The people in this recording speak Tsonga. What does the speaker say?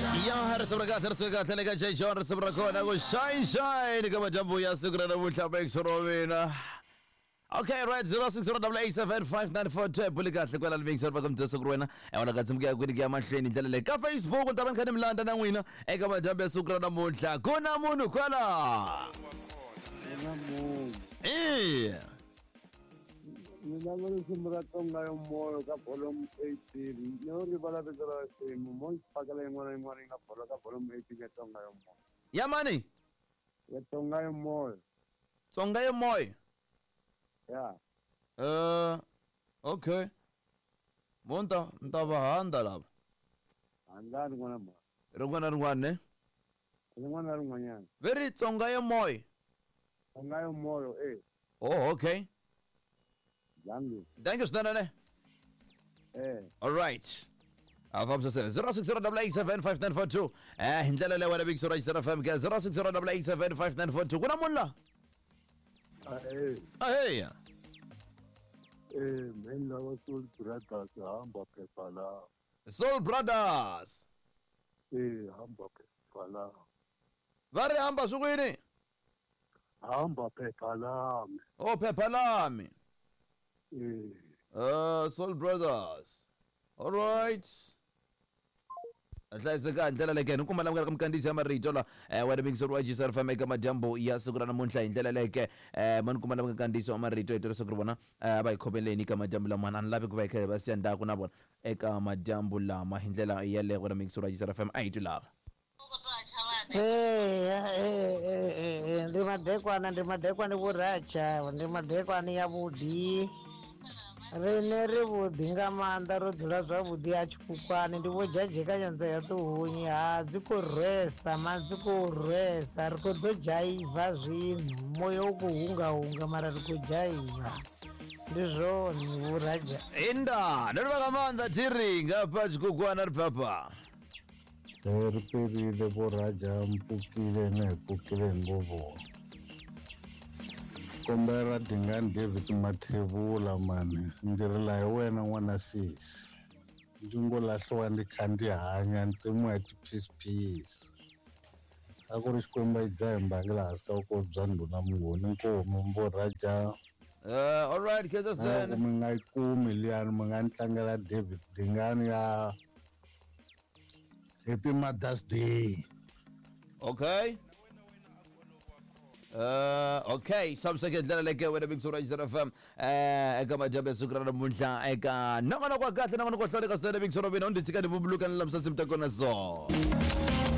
Ya risimu ra kahle, risimu kahle le ka J John, risimu ra kona ku shine shine ka madyambu ya siku ra namuntlha mixo ro mina. Okay, right, 0608875942 buli kahle kwala mixo va ka mudzeso ku ri wena. Wena ka tsimuka ya kwini ku ya mahlweni hi ndlela leyi. Ka Facebook u ta va ni kha ni mi landza na n'wina eka madyambu ya siku ra namuntlha. Ku na munhu kwala. Ku na munhu. Eh. Ni lava risimu ra Tsonga yo moyo ka volume 18. No rivala vito ra risimu. Mo ndzi phakela yin'wana na yin'wana yi nga bola ka volume 18 ya Tsonga yo moyo. Ya mani? Ya Tsonga yo moyo. Tsonga yo moyo. Ya. Okay. Mo ni ta ni ta va handza lava. Handzani n'wana mhani. Rin'wana na rin'wana ne? Rin'wana na rin'wanyana. Ve ri Tsonga yo moyo. Tsonga yo moyo eh. Oh, okay. Thank you. Thank you swinene ne. Eh. All right. A fambisa se 0608875942 hi ndlela leyi wena vekisi ra Xisera FM ke 0608875942 ku na munhu la Ahee. aheya Eh, mheni lava Soul Brothers hamba phepha la. Soul Brothers Eh, hamba phepha la. va ri hamba swi kwini Hamba phepha lami. o phepha lami Eh. Soul Brothers. All right. Hlayiseka hi ndlela leke ni kuma la ka mikandziyiso ya marito la wena mixer wa GSR FM eka madyambu ya siku ra namuntlha hi ndlela leke ma ni kuma la mikandziyiso ya marito hi tirhisa ku ri vona va hi khomeleni eka madyambu lama a ni lavi ku va hi kha hi va siya ndzhaku na vona eka madyambu lama hi ndlela yaleyo wena mixer wa GSR FM a hi twi lava. Ee, ee, ee, ndi madekwana, ndi madekwana vho Ratsha, ndi madekwana ya vhuḓi. Riṋe ri vhuḓi nga maanḓa ro dzula zwavhuḓi ha tshikhukhwane ndi vho dzhadzheka nyanza ya ṱuhunyi ha dzi khou rwesa ma dzi khou rwesa ri khou ḓo dzhaiva zwino moya u khou hunga hunga mara ri khou dzhaiva ndi zwone vho Raja. Inda, ndo livha nga maanḓa thiri ngafha tshikhukhwana ri bvafha. Ri perile vo Raja mpfukile na hi pfukile hi ngo vona. Kombela Dingani David Mathebula mani ndzi rila hi wena n'wana sesi. Ndzi ngo lahliwa ndzi kha ndzi hanya ntsemiwa hi tiphisiphisi. A ku ri Xikwembu a yi dzaha hi mbangi laha hansi ka vukosi bya ndhuna Mnguni Nkomu vo Raja. All right, khensa Na loko swinene. mi nga yi kumi liyani mi nga ni tlangela David Dingani ya Happy Mother's Day. Okay. Okay, samseke ndlela leke wena Big Sura FM eka madyambu ya siku ra namuntlha eka nongonoko wa kahle nongonoko wa hlawuleka swinene Big Sura mina u ndzi tshika ni vumbuluka ni lamusa nsimu ta kona so.